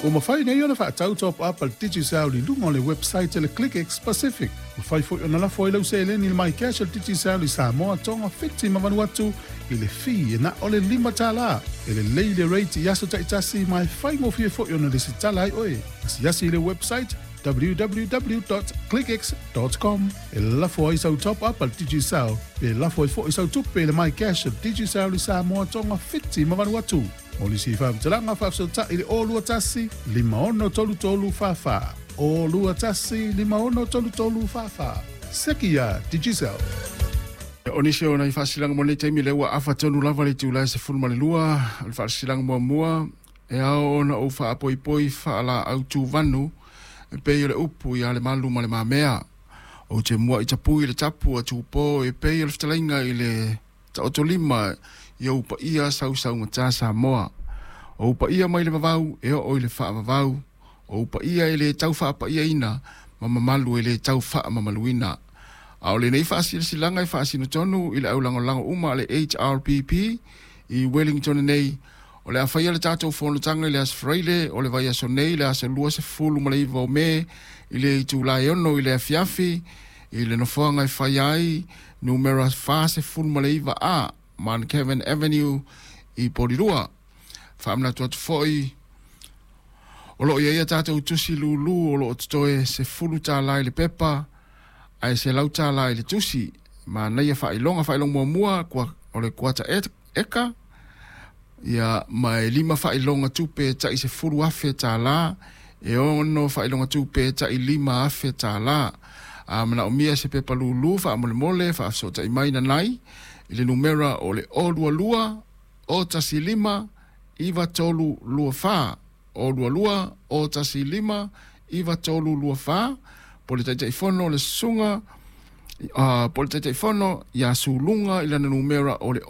Ua mafai nei ona faatau top up a le Digicel i luga o le website a le ClickX Pacific. Mafai foi ona lafo ai lau seleni i le MyCash a le Digicel i Samoa, Tonga, Fiti ma Vanuatu i le fee e na o le $5. E lelei le rate i aso taitasi ma e faigofie foi ona lesitala ai oe. Asiasi i le website www.clickx.com e lafo ai sau top up a le Digicel pe lafo ai foi sau tupe i le MyCash a le Digicel i Samoa, Tonga, Fiti ma Vanuatu. Mo nisi faamatalaga faafesootai i le 021 5633 44. 021 5633 44. Seki ia Digicel. O nisi o nai faasilaga mo lenei taimi lea ua afa tonu lava le itula e 12, o le faasilaga muamua e ao ona ou faapoipoi faalaau tuvanu e pei o le upu ia le malu ma le mamea. Ou te mua'i tapui i le tapu a Tupō e pei o le fetalaiga i le taotolima i ou paia sausaugata Samoa. O ou paia mai le vavau e oo i le faavavau, o ou paia e le tau faapaiaina ma mamalu e le tau faamamaluina. A o lenei faasilasilaga e faasino tonu i le aulagolago uma a le HRPP i Wellington nei, o le a faia le tatou fonotaga i le Aso Faraile o le vaiaso nei, le aso 29 o Me i le itula e 6 i le afiafi i le nofoaga e faia ai numera 49A Mount Kevin Avenue i Porirua. Faamanatu atu foi o lo o i ai a tatou tusi lūlū o lo o totoe $10 i le pepa ae $100 i le tusi. Manaia faailoga, faailoga muamua o le kuata eka, ia, ma e 5 faailoga tupe e tai $10,000, e 6 faailoga tupe e tai $5,000. A manaomia se pepa lūlū faamolemole faafesootai mai nanai i le numera o le 022 015 9324, 022 015 9324, po o le Taitaifono le Susuga po o le Taitaifono ia Suluga i lana numera o le